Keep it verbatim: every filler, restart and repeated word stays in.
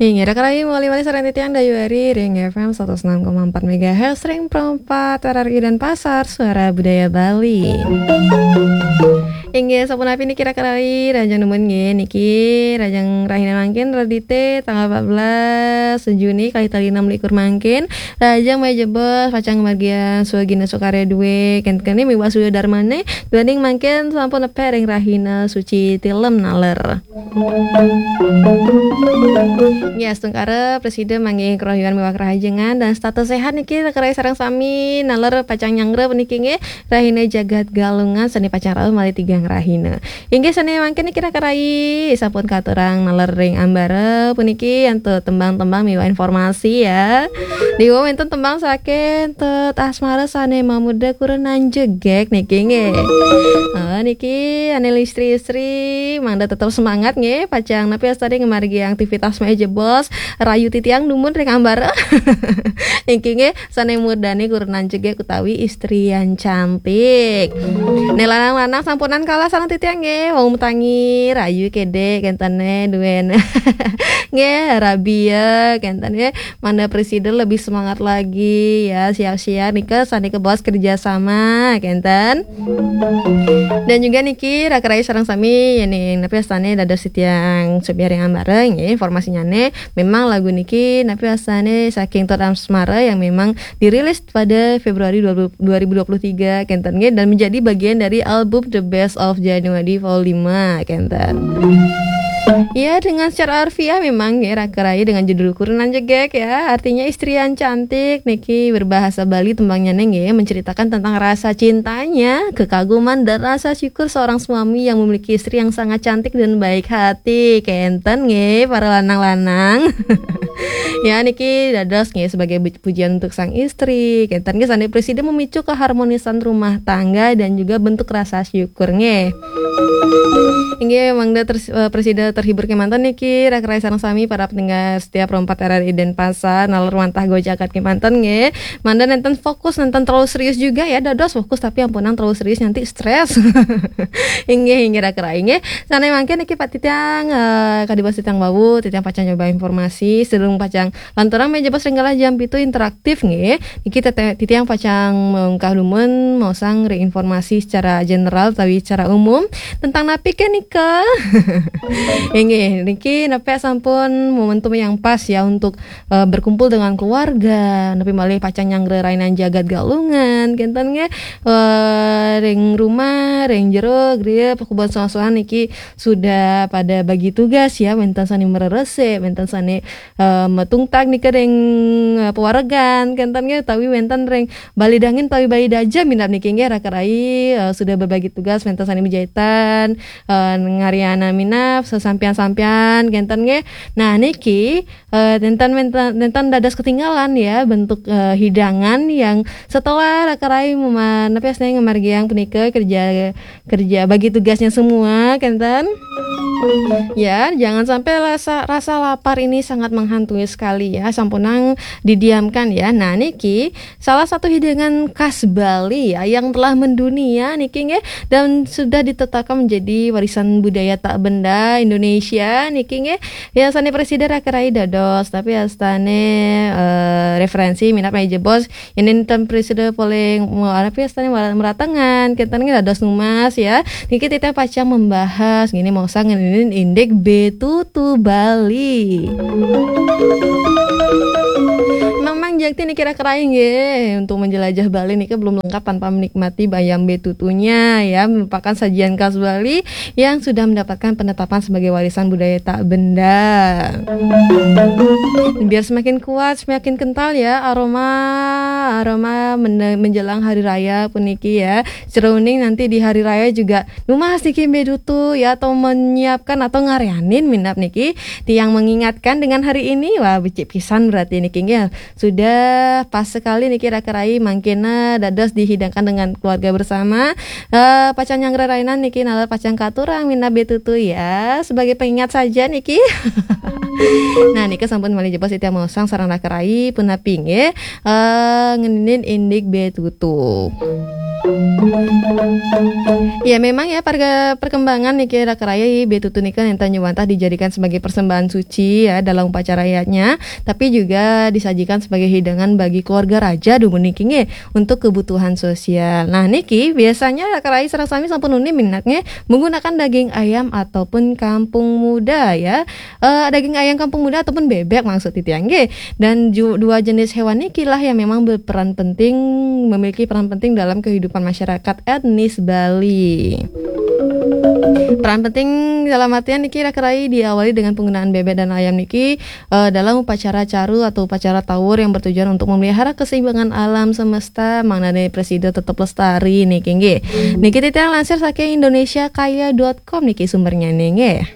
Inggih, raka rayi, mawali malih sareng titiang Dayu Ari ring F M satus enam koma empat megahertz ring Pro empat R R I Denpasar, Suara Budaya Bali. Inggih, sapunapi niki raka rayi, rahajeng nunas nggih niki, rahajeng rahina mangkin, Redite, tanggal empat belas Juni, kalih tali enam likur mangkin, rahajeng malih jebos, pacang ngamargiang swagina swakarya duwé, kenten miwah swagina darmané, duaning mangkin sampun nepek ring rahina suci tilem naler. Nggih, astungkara prasida manggih karahayu miwah karahajengan dan setata sehat niki raka rayi sareng sami, naler pacang nyanggra puniki nggih, rahina Jagat Galungan sané pacang rauh malih tigang rahina. Inggih, sané mangkin niki raka rayi sampun katurang naler ring ambara puniki antuk tembang-tembang miwah informasi ya. Diwa wénten tembang saking Tut Asmara sané mamurda Kurenan Jegég niki nggih. Ah, niki ané istri-istri mangda tetep semangat nggih, pacang napi wastané ngamargiang aktivitas malih jebos, rayu titiang dumun ring ambara. Niki nggih, sané murdané Kurenan Jegég utawi Istri yang Cantik. Né lanang-lanang sampunang kalah sareng titiang nggih, wau matangi, rayu kedék, kenten né duén. Nggih, rabi ya, kenten nggih. Mangda prasida lebih semangat lagi ya, siap-siap nika sané kabaos kerjasama, kenten. Dan juga niki raka rayi sareng sami, yéning napi wastané dados titiang subyah ring ambara nggih, informasinyané memang lagu niki napi wastané saking Tut Asmara yang memang dirilis pada Februari dua ribu dua puluh tiga, kenten nggih, dan menjadi bagian dari album The Best of January Volume lima, kenten. Ya, dengan secara harfiah memang nggih raka rayi dengan judul Kurenan Jegég ya, artinya istri yang cantik niki, berbahasa Bali tembangnyané nggih, menceritakan tentang rasa cintanya, kekaguman dan rasa syukur seorang suami yang memiliki istri yang sangat cantik dan baik hati, kenten nggih para lanang-lanang. Ya, niki dados nggih sebagai bu-, pujian untuk sang istri. Kenten nggih sané prasida memicu keharmonisan rumah tangga dan juga bentuk rasa syukur nggih. Inggih, mangda ter-, eh, prasida terhibur kémanten niki, raka rayi sareng sami para pendengar setia Pro empat R R I Denpasar, naler wantah gojakan kémanten nggih. Mangda nénten fokus, nénten terlalu serius juga ya, dados fokus tapi ampunang terlalu serius nanti stres. Inggih, inggih raka rayi nggih. Sané mangkin niki Pak titiang, eh, kadi basa titiang wau, titiang pacang nyoba informasi, sedurung pacang lanturang malih jebos ring galah jam pitu interaktif nggih. Niki tete-, titiang pacang mungkah dumun maosang ring informasi secara general utawi secara umum tentang napi ké nika. Inggih, niki nepek sampun momentum yang pas ya untuk, eh, berkumpul dengan keluarga, napi malih pacang nyanggra rahina Jagat Galungan, kenten nggih, eh, ring rumah, ring jero, griya, pakuban soang-soang niki sudah pada bagi tugas ya, wénten sané mareresik, wénten sané, eh, matungtag nika ring, eh, pawaregan, kenten nggih, utawi wénten ring bali dangin utawi bali daja minab niki nggih, raka rayi, eh, sudah berbagi tugas, wénten sané majahitan, eh, ngaryanang minab, sesampian-sampian, kenten nggih. Nah, niki, eh, nénten, nénten, nénten dados ketinggalan ya, bentuk, eh, hidangan yang setelah raka rayi mema-, napi wastané ngamargiang punika kerja kerja bagi tugasnya semua, kenten. Ya, jangan sampai rasa, rasa lapar ini sangat menghantui sekali ya, sampunang didiamkan ya. Nah, niki salah satu hidangan khas Bali ya, yang telah mendunia niki nggih, dan sudah ditetapkan menjadi warisan budaya tak benda Indonesia niki nggih. Ya, sané prasida raka rayi dados, tapi wastané, eh, referensi minab malih jebos Yén ten prasida polih, mo-, napi wastané mara-, maratengan, kenten nggih dados nunas ya. Niki titiang pacang membahas, ngéné maosang ngeninin indik betutu Bali. Memang jakti niki raka rayi nggih, untuk menjelajah Bali niki belum lengkap tanpa menikmati bayam betutunya ya, merupakan sajian khas Bali yang sudah mendapatkan penetapan sebagai warisan budaya tak benda. Biar semakin kuat, semakin kental ya aroma, aroma men-, menjelang hari raya puniki ya. Jroning nanti di hari raya juga nunas niki betutu ya, atau menyiapkan atau ngaryanin minab niki. Tiang mengingatkan dengan hari ini, wah, becik pisan berarti niki nggih. Sudah pas sekali niki raka rayi mangkena dados dihidangkan dengan keluarga bersama. Eh, pacang nyanggra rahina niki nalar pacang katurang minab betutu ya. Sebagai pengingat saja niki. Nah, nika sampun malih jebos titiang maosang sareng raka rayi punapi nggih. Eh, ngeninin indik betutu. Ya, memang ya, parga perkembangan niki, Raka Rai, betutu nika nénten nyuwun wantah dijadikan sebagai persembahan suci ya dalam upacara adatnya, tapi juga disajikan sebagai hidangan bagi keluarga raja dumun niki nggih, untuk kebutuhan sosial. Nah, niki biasanya Raka Rai sareng sami sampun uning minat nggih menggunakan daging ayam ataupun kampung muda ya. Eh, daging ayam kampung muda ataupun bebek maksud titiang nggih. Dan ju- dua jenis hewan niki lah yang memang berperan penting, memiliki peran penting dalam kehidupan masyarakat etnis Bali. Peran penting dalam artian niki, Raka Rai, diawali dengan penggunaan bebek dan ayam niki eh, dalam upacara caru atau upacara tawur yang bertujuan untuk memelihara keseimbangan alam semesta, mangdané prasida tetep lestari niki nggih. Niki titiang lansir saking indonesiakaya dot com niki sumbernya nggih.